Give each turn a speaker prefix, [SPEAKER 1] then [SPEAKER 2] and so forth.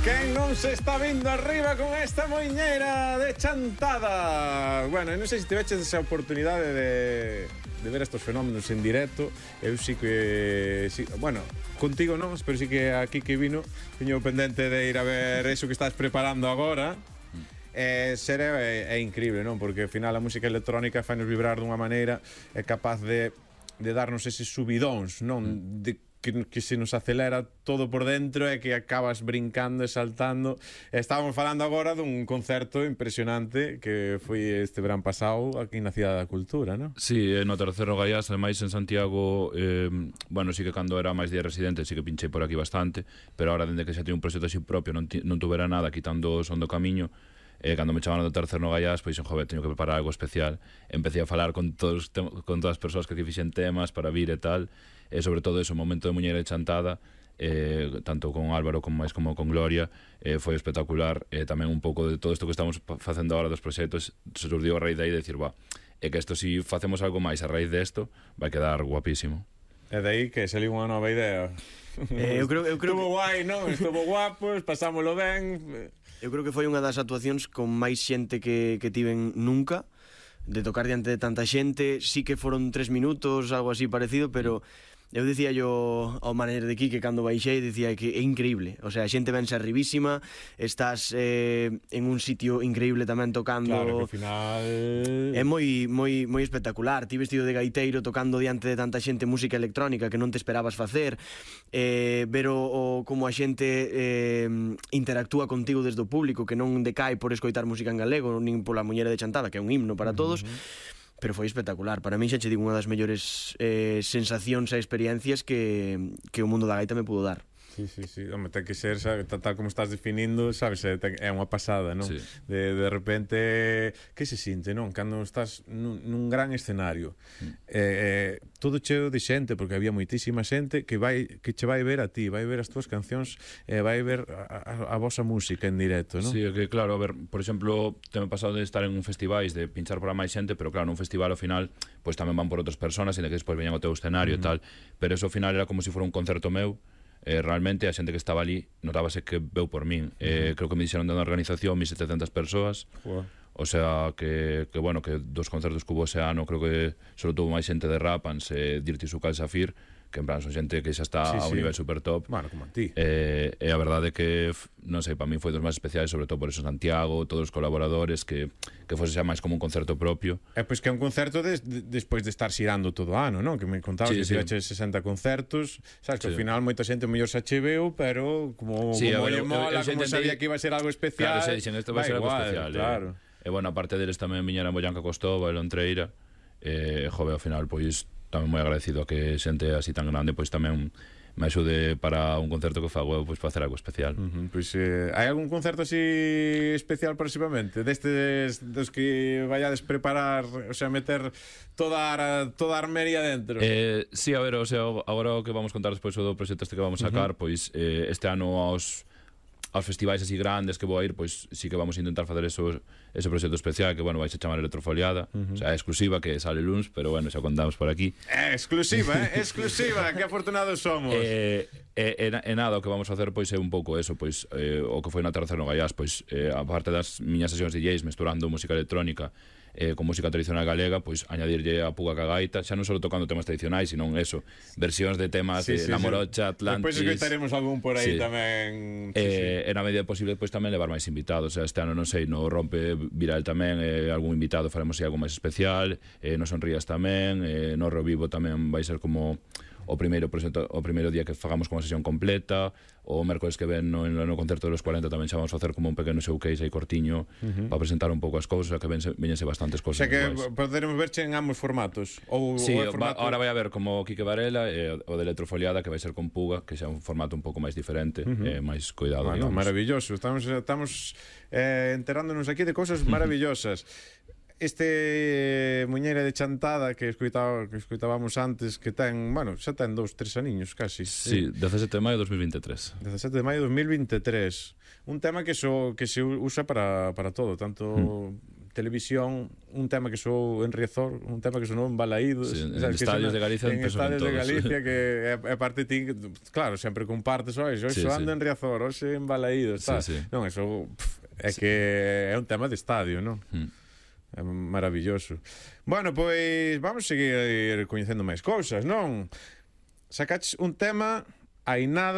[SPEAKER 1] Quen non se está vindo arriba con esta moiñeira de chantada? Bueno, non sei se tiveches esa oportunidade de ver estos fenómenos en directo. Eu sí que... Sí, bueno, contigo non, pero sí que aquí que vino teño pendente de ir a ver eso que estás preparando agora. É increíble, non? Porque ao final a música electrónica fai-nos vibrar dunha maneira, é capaz de darnos eses subidóns, non? Que se nos acelera todo por dentro e que acabas brincando e saltando. Estábamos falando agora dun concerto impresionante que foi este verán pasado aquí na Cidade da Cultura, non?
[SPEAKER 2] Sí, no Terceiro Gaiás, ademais en Santiago, bueno, sí que cando era máis día residente sí que pinchei por aquí bastante, pero ahora dende que xa teño un proxecto así propio non tuvera nada quitando o Son do Camiño. Cando me chamaron do Terceiro Gaiás, pois, joder, teño que preparar algo especial. Empecé a falar con todas as persoas que fixen temas para vir e tal, e sobre todo ese momento de Muñeira de Chantada, tanto con Álvaro como con Gloria, foi espectacular. Tamén un pouco de todo isto que estamos facendo agora dos proxectos se surdiu a raíz de aí de decir, é que isto, si facemos algo máis a raíz desto, vai quedar guapísimo.
[SPEAKER 1] E de aí que saliu unha nova idea.
[SPEAKER 3] Eu creo
[SPEAKER 1] Estuvo guai, non? Estuvo guapos, pasámolo ben.
[SPEAKER 3] Eu creo que foi unha das actuacións con máis xente que tiven nunca, de tocar diante de tanta xente. Sí que foron 3 minutos, algo así parecido, pero eu dicía yo ao manager de Quique cando baixei, dicía que é increíble, o sea, a xente vense arribísima, estás en un sitio increíble tamén tocando.
[SPEAKER 1] Claro, que ao final
[SPEAKER 3] é moi espectacular. Ti vestido de gaiteiro tocando diante de tanta xente música electrónica que non te esperabas facer, ver como a xente interactúa contigo desde o público, que non decae por escoitar música en galego nin pola Muñeira de Chantada, que é un himno para todos. Pero foi espectacular. Para mí xa che digo unha das mellores sensacións e experiencias que o mundo da gaita me pudo dar.
[SPEAKER 1] Sí, home, ten que ser, sabe, tal como estás definindo, sabes, é unha pasada, non? Sí. De repente, que se sinte, non? Cando estás nun gran escenario, todo cheo de xente, porque había moitísima xente que che vai ver a ti, vai ver as túas cancións, vai ver a vosa música en directo, non?
[SPEAKER 2] Sí, que claro, a ver, por exemplo, teme pasado de estar en un festivais, de pinchar para máis xente, pero claro, nun festival ao final, pois tamén van por outras personas, e que despois veñan ao teu escenario e tal, pero eso ao final era como se fora un concerto meu. Realmente a xente que estaba ali notábase que veu por min. Creo que me dixeron de unha organización 1700 persoas. O sea que bueno, que dos concertos que hubo ese ano, creo que solo tuvo máis xente de Rapans, Dirty Sucal Safir, que en plan son xente que xa está a un nivel super top.
[SPEAKER 1] Bueno, como a ti.
[SPEAKER 2] E a verdade é que, non sei, para mí foi dos máis especiais, sobre todo por eso Santiago, todos os colaboradores, que fose xa máis como un concerto propio.
[SPEAKER 1] Pois que é un concerto despois de estar xirando todo o ano, non? Que me contabas que tirache 60 concertos, sabes, que ao final moita xente mellor se acheveu, pero como lle mola, como sabía que iba a ser algo especial.
[SPEAKER 2] Claro, dixen, isto vai ser algo especial.
[SPEAKER 1] Claro.
[SPEAKER 2] E bueno, aparte deles tamén viñeran Boyanca Costova e Lontreira, jove, ao final, pois tamén moi agradecido a que xente así tan grande pois tamén me axude para un concerto que fago pois para hacer algo especial.
[SPEAKER 1] Pois hai algún concerto así especial próximamente destes dos que vayades preparar, o sea, meter toda a armería dentro?
[SPEAKER 2] Sí, a ver, o sea, agora o que vamos contar despois do proxecto este que vamos sacar, pois este ano aos festivais así grandes que vou a ir, pois sí que vamos a intentar facer ese proxecto especial que, bueno, vais a chamar Electrofoliada, o sea, é exclusiva, que sale luns, pero bueno, xa contamos por aquí.
[SPEAKER 1] Exclusiva, exclusiva, que afortunados somos.
[SPEAKER 2] Nada, o que vamos a facer pois é un pouco eso, pois o que foi na Terceiro Gaiás, pois aparte das miñas sesións DJs mesturando música electrónica con música tradicional galega, pois añadirlle a puga ca gaita, xa non só tocando temas tradicionais, sino eso, versións de temas de La Morocha, Atlantis.
[SPEAKER 1] Depois escoitaremos algún por aí tamén.
[SPEAKER 2] E na medida posible pois tamén levar máis invitados. Este ano non sei, no Rompe Viral tamén algún invitado faremos algo máis especial, no Sonrías tamén, no Revivo tamén vai ser como o primeiro día que fagamos como sesión completa. O mércoles que ven no concerto dos 40 tamén xa vamos a facer como un pequeno showcase aí cortiño para presentar un pouco as cousas, que veñense bastantes cousas.
[SPEAKER 1] O sea que poderemos verche en ambos formatos.
[SPEAKER 2] Sí, ahora vai a ver como Quique Varela o de Electrofoliada, que vai ser con Puga, que xa é un formato un pouco máis diferente, máis cuidado.
[SPEAKER 1] Bueno, maravilloso, estamos enterándonos aquí de cousas maravillosas. Este Muñeira de Chantada que escoitábamos antes, que ten, bueno, xa ten 2-3 aniños casi.
[SPEAKER 2] Sí, 17 de maio de 2023.
[SPEAKER 1] 17 de maio de 2023. Un tema que se usa para todo, tanto televisión, un tema que soou en Riazor, un tema que sonou en Balaídos,
[SPEAKER 2] sí, en estadios de Galicia
[SPEAKER 1] en estadios de Galicia, que é parte ti, claro, sempre compartes, hoxe
[SPEAKER 2] sí,
[SPEAKER 1] ando en Riazor, hoxe en Balaídos,
[SPEAKER 2] sí, sí.
[SPEAKER 1] Non, eso é que é un tema de estadio, non? É maravilloso. Bueno, pois vamos seguir coñecendo máis cousas, non? Sacaches un tema hai nada